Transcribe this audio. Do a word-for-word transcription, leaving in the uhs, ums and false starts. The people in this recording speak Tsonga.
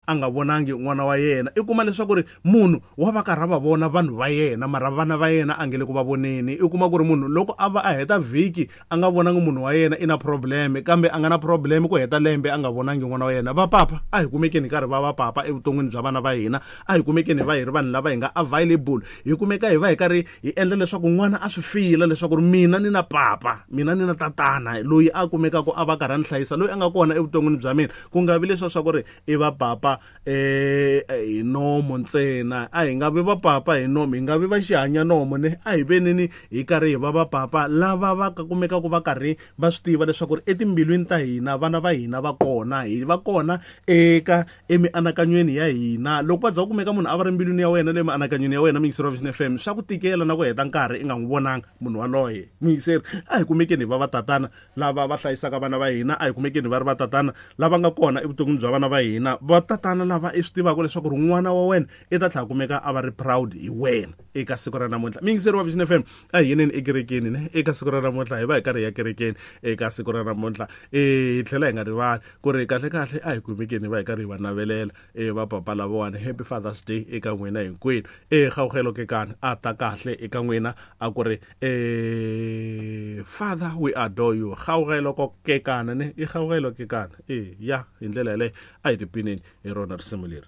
a nga vonangi n'wana wa yena. I kuma leswaku ri munhu wa va karhi a va vona vanhu va yena, mara vana va yena a nge le ku va voneni. I kuma ku ri munhu loko a va a heta vhiki a nga vonangi munhu wa yena i na problem, kambe a nga na problem ku heta lembe a nga vonangi n'wana wa yena. Va papa a hi kumekeni hi karhi va va papa evuton'wini bya vana va hina, a hi kumekeni hi va hi ri vanhu lava hi nga available, hi kumeka hi va hi karhi hi endla leswaku n'wana a swi fila leswaku ri mina ni na papa, mina ni na tatana loyi a kumekaka a va karhi a ni hlayisa, loyi a nga kona evuton'wini bya mina. Ku nga vi leswa swa ku ri i va papa eh hi nomo ntsena, a hi nga vi va papa hi nomo, hi nga vi va xihanya nomo ne, a hi veneni hi karhi hi va va papa lava va kumekaka va karhi va swi tiva leswaku ri etimbilwini ta hina vana va hina va kona, hi va kona eka emianakanyweni ya hina. Loko va za ku kumeka munhu a va ri mbilwini ya wena le mianakanyweni ya wena, muyingiseri wa Vision F M, swa ku tikela na ku heta nkarhi i nga n'wi vonanga munhu waloye. Muyingiseri, a hi kumekeni hi va va tatana lava va hlayisaka vana va hina, a hi kumekeni va ri va tatana lava nga kona evuton'wini bya vana va hina, va tatana lava i swi tivaka leswaku ri n'wana wa wena i ta tlhela kumeka a va ri proud hi wena eka siku ra namuntlha. Muyingiseri wa Vision F M, a hi yeneni ekerekeni ne eka siku ra namuntlha, hi va hi karhi hi ya kerekeni eka siku ra namuntlha. Hi tlhela hi nga rivali ku ri kahle kahle a hi kumekeni hi va hi karhi hi va navelela e va papa lavawani Happy Father's Day eka n'wina hinkwenu. E Kgaogelo Kekana a ta kahle eka n'wina, a ku ri e Father we adore you. Kgaogelo Kekana ne, i Kgaogelo Kekana e ya hi ndlela yaleyo. A hi tipineni hi rona risimu leri.